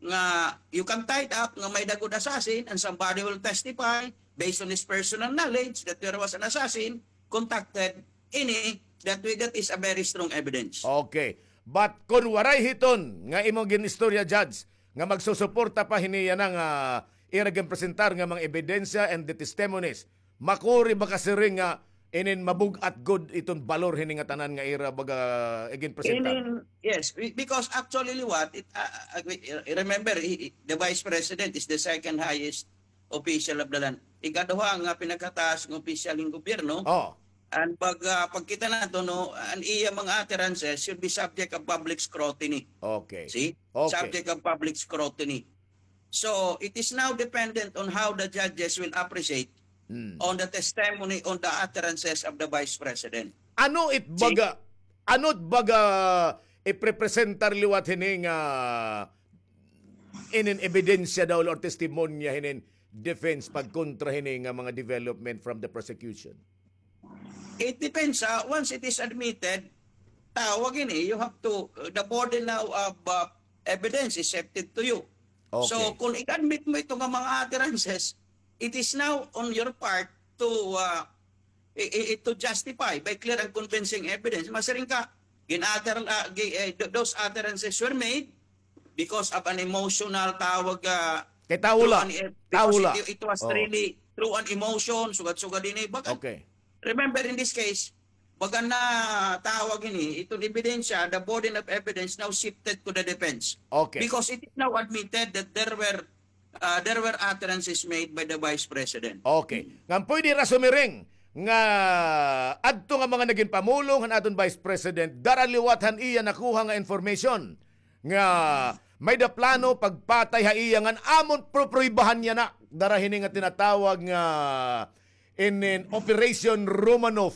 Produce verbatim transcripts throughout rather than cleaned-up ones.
nga you can tie it up nga may-ada gud assassin and somebody will testify based on his personal knowledge that there was an assassin contacted ini, that way, that is a very strong evidence. Okay. But kon waray hiton nga imo gin-istorya, Judge, nga magsusuporta pa hini yana nga ira ginpresentar nga mga ebidensya and the testimonies, makuri ba ka siring nga inin mabug-at gud iton balor hini nga tanan nga ira baga iginpresentar? Inin, yes, be-, because actually liwat, it, ah, ah, I, I remember, he, he, the Vice President is the second highest official of the land. Ikaduha nga pinakataas nga opisyal hin gobyerno. Oh. And pag, ah, pagkita nato, no, an iya mga utterances should be subject of public scrutiny. Okay. See? Okay. Subject of public scrutiny. So, it is now dependent on how the judges will appreciate Hmm. on the testimony, on the utterances of the Vice President. Ano it See? baga, ano it baga iprepresentar liwat hini nga inin ebidensya daw or testimonya hinin defense pagkontra hini nga mga development from the prosecution? It depends, ah, once it is admitted, tawag ini, you have to, the burden now of, ah, evidence is shifted to you. Okay. So, kung i-admit mo ito nga mga utterances, it is now on your part to, ah, i-, i-, to justify by clear and convincing evidence. Masiring ka, gin-utter, ah, gi-, eh, th-, those utterances were made because of an emotional tawag, ah, Kay tawo la. through an, eh, because Tawo la. it, it was Oh. really through an emotion, sugad-sugad ini. Baga, Okay. remember in this case, baga na tawag ini, iton ebidensya, the burden of evidence now shifted to the defense. Okay. Because it is now admitted that there were, ah, there were utterances made by the Vice President. Okay. Ngan pwede ra sumiring nga adto nga mga nagin pamulong han aton Vice President, dara liwat han iya nakuha nga information nga may-ada plano pagpatay ha iya ngan amon prupribahan niya na dara hini nga tinatawag nga inin Operation Romanov.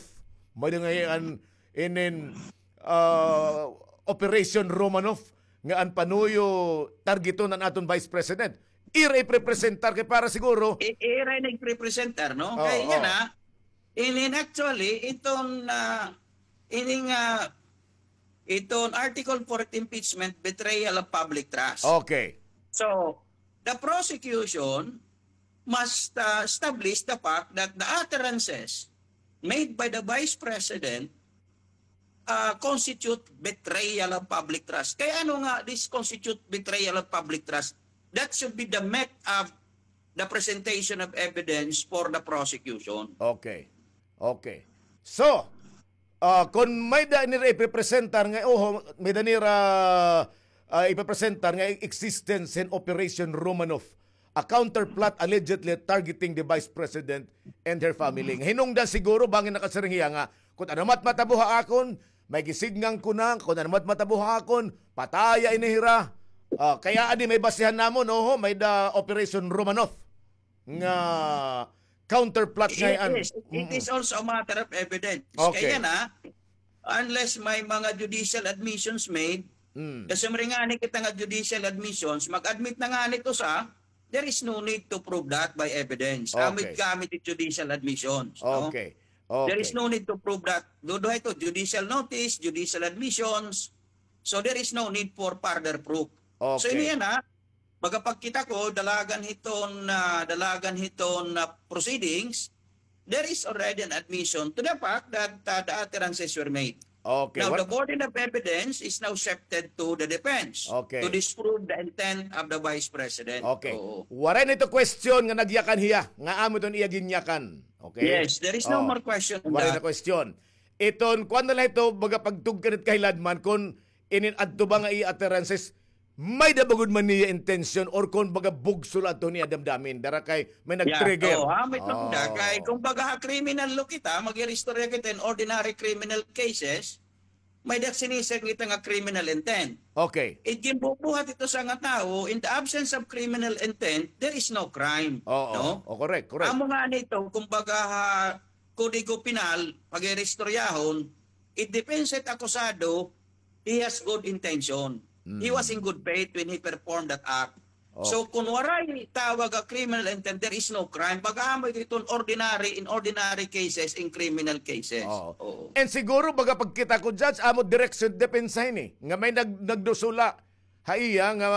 May-ada nga an inin, ah, Operation Romanov nga an panuyo targeton an aton Vice President. Ira iprepresentar kay para siguro I-, ira nagprepresentar, no? Oo, Kay yan, oo. ah, inin actually, iton, ah, ining, ah, iton Article four impeachment, betrayal of public trust. Okay. So, the prosecution must, ah, establish the fact that the utterances made by the Vice President ah, constitute betrayal of public trust. Kay ano nga this constitute betrayal of public trust? That should be the meat of the presentation of evidence for the prosecution. Okay. Okay. So, ah, kon may-ada nira iprepresentar nga, oho, may-ada nira, ah, iprepresentar nga existence hin Operation Romanov, a counterplot allegedly targeting the Vice President and her family. Nga hinungdan siguro, bangin nakasiring hiya nga, kun ano man it matabo ha akon, may gisidngan ko na, kun ano man it matabo ha akon, pataya ini hira. Ah, kay adi may basihan namon, oho, may-ada Operation Romanov nga counterplot It ngay-an. is. It Mm-mm. is also a matter of evidence. Okay. Kay yana, unless may mga judicial admissions made, Mm. kasi masiring ngani kita nga judicial admissions, mag-admit na ngani it usa, there is no need to prove that by evidence. Amo it Okay. gamit it judicial admissions, no? Okay. There is Okay. no need to prove that. Duduha ito, judicial notice, judicial admissions. So there is no need for further proof. So Okay. ini yana, baga pagkita ko, dalagan hiton, ah, dalagan hiton, ah, proceedings, there is already an admission to the fact that, ah, the utterances were made. Okay, Now, what the burden of evidence is now shifted to the defense Okay. to disprove the intent of the Vice President. Okay. Oo. Waray na ito question nga nagyakan hiya, nga amo iton iya ginyakan. Okay? Yes, there is no Oh. more question on Waray na that. question. Iton, kuan na la ito, baga pagtugkan it kahiladman, kun inin adto ba nga iya utterances, may-ada ba gud man niya intention or kon baga bugso la adto niya damdamin, dara kay may Yeah. nag-trigger. Oo, ha, may Oh. tugda. Kay kung baga ha criminal law kita, mag-iristorya kita in ordinary criminal cases, may-ada sinisig kita nga criminal intent. Okay. It ginbubuhat ito sa nga tawo, in the absence of criminal intent, there is no crime. Oo. No? Oh, correct, correct. Amo ngani ito, kung baga ha Kodigo Penal, pag-iristoryahon, it depends it akusado, he has good intention. He Mm. was in good faith when he performed that act. So, Okay. kun waray tawag a criminal intent, there is no crime. Baga amo ito in ordinary, in ordinary cases, in criminal cases. Oo. Oo. And siguro, baga pagkita ko, Judge, amo direksyon depensa ini, nga may nag-, nagdusula ha iya nga